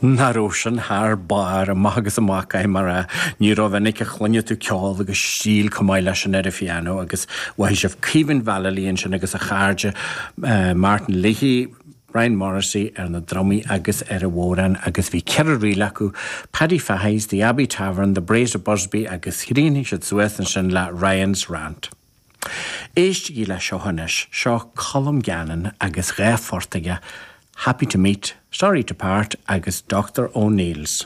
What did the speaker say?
Nach raibh sin thar barr, amach agus amach, caithfidh mé a rá. Ní rómhinic a chluineann tú ceol agus stíl chomh maith leis sin ar an phianó agus mhothaigh sibh Caoimhín Vallely ansin agus a chairde Martin Leahy, Brian Morrissey ar na drumaí agus ar an bhodhrán agus bhí ceithre ríl acu, Paddy Fahy's, The Abbey Tavern, The Braes of Busby agus chríochnaigh siad suas ansin le Ryan's Rant. Éistigí le seo anois, seo Colm Gannon agus dha phort aige, Happy to Meet, Sorry to Part agus Doctor O'Neill's.